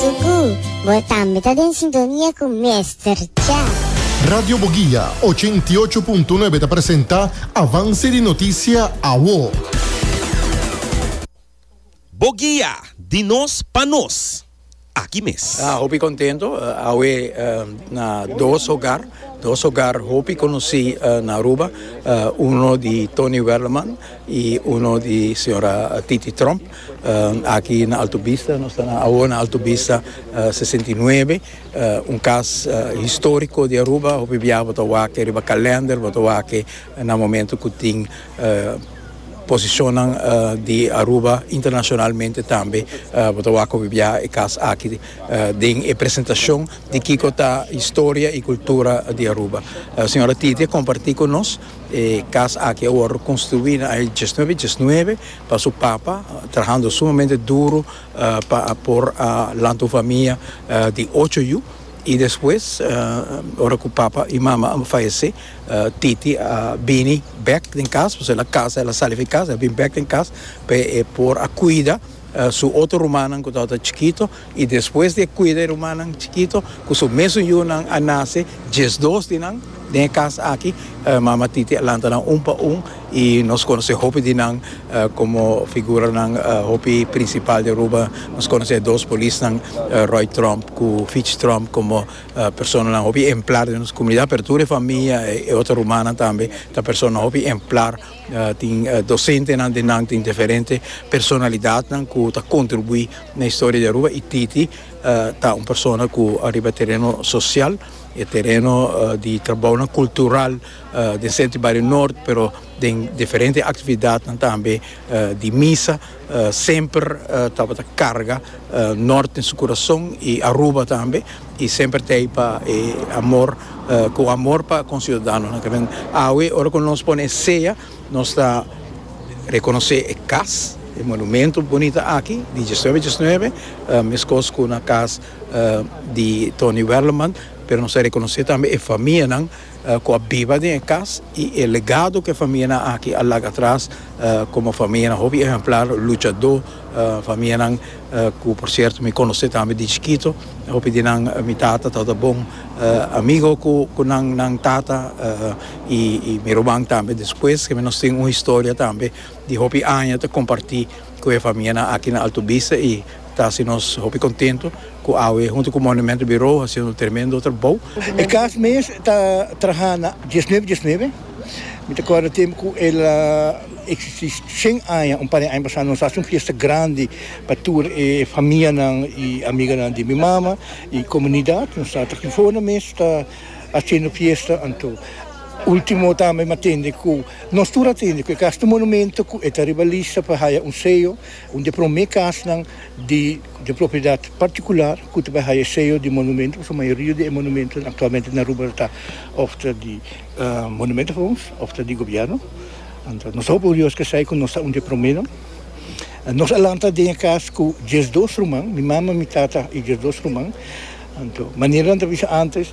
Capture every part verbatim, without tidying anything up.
Suku, bo tambe ta den sintonia ku Mister Cha. Radio Boguia ochenta i ocho punto nuebe ta presenta Avance di Noticia Awo. Boguia, di nos pa nos. Aki mes. Ah, hopi contento. Uh, awe uh, na dos hogar, dos hogar hopi conoci uh, na Aruba, uh, uno di Tony Werleman y uno di señora Titi Tromp. Uh, aki na Alto Vista, nos ta na na Alto Vista uh, sesenta i nuebe, uh, un cas uh, historico di Aruba, hopi biaha bo ta wak riba calendar, bo ta wak na momento cu tin uh, posiciona uh, di Aruba internacionalmente tambe, uh, bo ta wak biaha e cas aki uh, den e presentacion di kico ta historia y cultura di Aruba. Uh, señora Titi a comparti cu nos e cas aki a wordo construi na diesnuebe diesnuebe pa su papa, trahando sumamente duro uh, pa por uh, lanta famia uh, di ocho yiu. Y despues, uh, ora cu papa y mama a fayece, uh, Titi a uh, bini bek den cas, pasobra el a casa, el a sali di cas, a bin bek den cas, pa eh, por a cuida uh, su otro ruman cu tabata chikito, y despues di cuida ruman chikito, cu su mesun yiunan a nace, diesdos di nan, den cas aki, uh, mama Titi a lanta nan un pa un, y nos conoce hopi di nan uh, como figura nan uh, hopi principal di Aruba. Nos conoce dos polisnan, uh, Roy Tromp cu Fitch Tromp, como uh, persona nan hopi ehemplar den nos comunidad, pero tur famia y otro ruman tambe, ta persona hopi ehemplar, uh, tin uh, docente nan den nan, tin diferente personalidad nan cu ta contribui na historia di Aruba, y Titi uh, ta un persona cu riba tereno social y tereno uh, di trabou cultural uh, di Centro Barrio Norte, pero den diferente actividad tambe uh, di misa, uh, semper uh, tabata carga uh, Noord den su curason y Aruba tambe, y semper tin pa eh, amor, uh, cu amor pa cu ciudadano. Awe, ora cu nos pone seyo, nos ta reconoce e cas, e monumento bunita aki, di diesnuebe diesnuebe, uh, mescos cu na cas uh, di Tony Werleman, pero nos ta reconoce tambe e famia nan, uh, cu a biba den cas y e legado cu e famia nan aki a laga atras uh, como famia nan hopi ehemplar, luchador, uh, famia nan uh, cu por cierto mi conoce tambe di chikito, hopi di nan mi tata tabata bon uh, amigo cu cu nan nan tata uh, y, y mi ruman tambe despues, cu nos tin un historia tambe di hopi aña ta comparti cu e famia nan aki na Alto Vista, y ta haci nos hopi contento cu awe hunto cu Monumento Bureau haciendo un tremendo trabou. E cas mes ta traha na diesnuebe diesnuebe. Mi ta corda tempo cu el a existi shen aña, un par di aña pasa, nos a haci un fiesta grandi pa tur e famia nan y amiga nan di mi mama y comunidad. Nos ta aki for mes ta haciendo fiesta. Anto ultimo tambe m'a tende cu nos tur a tende cu e cas ta monumento cu ta riba lista pa haya un seyo, un di prome cas nan di di propiedad particular cu ta haya seyo di monumento, pasobra mayoria di monumento actualmente na Aruba ta of di uh, Monumentenfonds of di gobierno. Anto nos ta orguyoso cu esey, cu nos ta un di prome. Nos a lanta den cas cu diesdos ruman, mi mama, mi tata y diesdos ruman. Anto, manera nan bisa antes,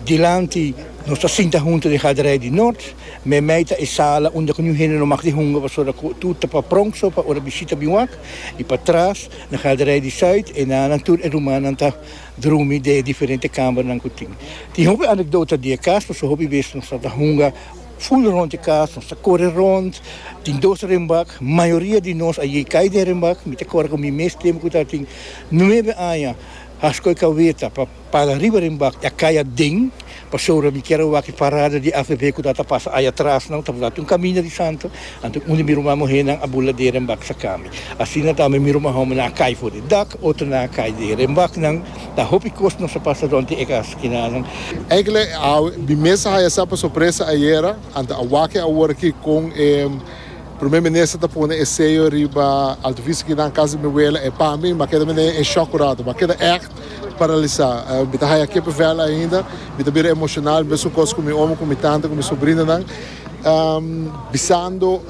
dilanti nos ta sinta hunto den galerij di Noord, meimei ta e sala unda cu hende no mag di hunga, pasobra tur ta pa pronk so pa ora bishita bin wak, y patras na galerij di Zuid y na nan tur e rumannan ta drumi den diferente kamernan cu tin. Tin hopi anekdota di cas, pasobra hopi bes nos ta hunga full rond di cas, nos ta core rond, tin dos renbak, mayoria di nos a cay den renbak. Mi ta corda cu mi mes tempo cu tin nuebe aña, a scoy caweta pa para riba renbak, a cay aden, pasobra mi kier a wak parada di A V P cu ta pasa ey atras, no, tabata un caminda di santo, anto un di mi ruman muhenan a bula den renbak saca mi. Asina tambe mi ruman homber a cay for di dak, otro nan a cay den renbak nan, ta hopi cos nos a pasa rond e cas kinanan. Eigenlijk, mi mes a haya pa sorpresa ayera, anto a wak awor aki cu eh, prome minister ta pone e seyo riba Alto Vista aki na cas di mi wela, e pa mi, m'a keda den shock rato, m'a keda echt paralisa. Uh, mi ta haya kippenvel ainda, mi ta bira emocional, mesun cos cu mi omo, cu mi tanta, cu mi sobrina nan. Um, bisando,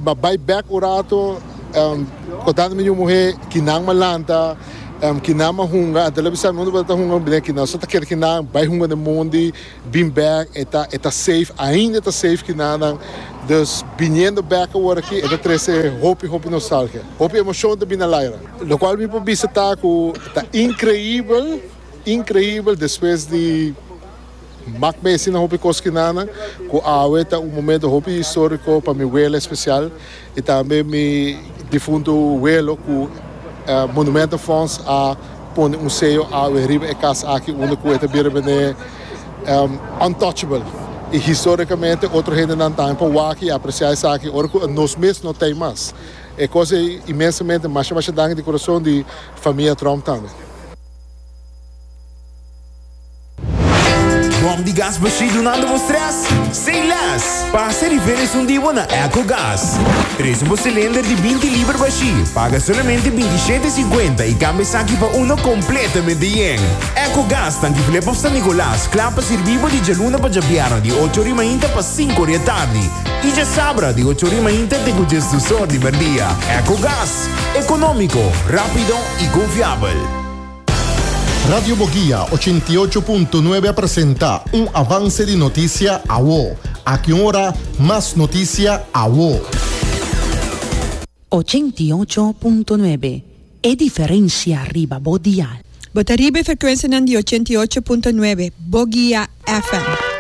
m'a bay back un rato, um, contando mi muhe cu nan m'a lanta, Um, kinan m'a hunga, anto el a bisa mi unda bo ta hunga, mi kinan, so ta kere kinan, bai hunga den mondi, bin back, e ta, e ta safe, ainda ta safe kinan, dus biniendo back awor aki, e ta trese hopi, hopi nostalgia. Hopi emocion ta bin na laira. Locual mi por bisa ta cu ta increibel, increibel despues di mak mes na hopi cos kinan, cu awe ta un momento hopi historico pa mi wela especial y tambe mi difunto welo cu uh, Monumentenfonds a pone un seyo awe riba e cas aki unda cu e ta bira bene um, untouchable. Y historicamente otro hendenan tambe por wak y aprecia esaki ora cu nos mes no tin mas. E cos inmensamente masha masha danki di curason di famia Tromp tambe. Bom di gas bashi dunando bo stress? Say less! Pasa riba esun di bo na EcoGas. Trece un cylinder di binti liber bashi. Paga solamente binti shete cincuenta y cambia esaki pa uno completamente yen. EcoGas, Tanki Flip of San Nicolas, cla pa sirbi bo di dialuna pa diabierna di ocho or di mainta pa cinco or di atardi. Y diasabra di ocho or di mainta te cu diesdos or di merdia. EcoGas, economico, rapido y confiabel. Radio Boguia ochenta y ocho punto nuebe presenta un avance di noticia awo. Aki ora, mas noticia awo. ochenta y ocho punto nuebe. E diferencia riba bo dial. Bo ta riba e frecuencia di ochenta y ocho punto nuebe, Boguia F M.